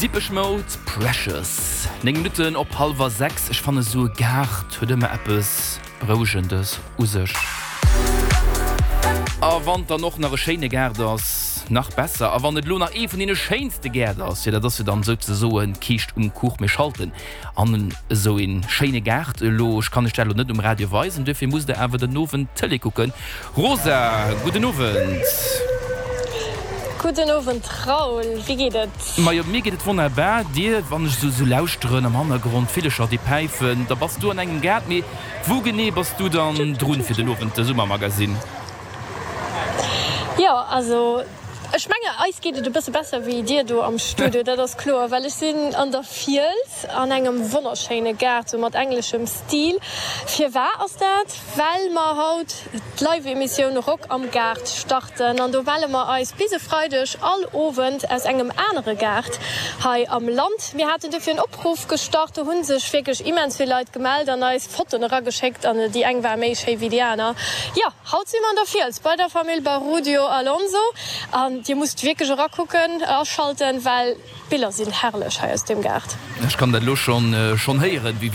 Depeche Mode, Precious. 9 Minutten op hallwer 6. Ech fannen esou e Gaart huet ëmmer eppes Berouegendes u sech. A wann et dann och nach e schéine Gaart ass, nach besser. A wann et elo nach ee vun deene schéinste Gäert ass, jo dat ass jo dann souzesoen d'Kiischt um Kuch. Mir schalten an esou ee schéine Gaart elo. Ech kann iech dat elo net um Radio weisen, duerfir musst der awer den Owend Tëlee kucken. Rosa, gudden Owend. Gudden Owend Raoul, wéi geet et? Majo, mir geet et wonnerbar. Dir, wann ech esou lauschteren am Hannergrond, d'Villecher déi päifen, da bass du an engem Gaart. Mee wou genee bass du dann drun fir den Owend de Summermagasinn? Jo, also ech menge eis geet et e bësse besser wéi dir do am Studio, dat ass kloer, well ech sinn an der Fiels an engem wonnerschéine Gaart, sou mat engleschem Stil. Firwar ass dat? Well mer haut d'Live-Emissioun Rock am Gaart starten an do melle mer eis bis e Freideg all Owend aus engem anere Gaart hei am Land. Mir haten dofir en Opruff gestart, do hu sech wierklech immens vill Leit gemellt an eis Fotoen erageschéckt an déi eng war méi schéi wéi déi aner. Jo, haut si mer an der Fiels bei der Famill Barudio Alonso an dir musst wierklech erakucken, aschalten, well d'Biller sinn herrlech hei aus deem Gaart. Ech kann dat elo schonn héieren, wéi.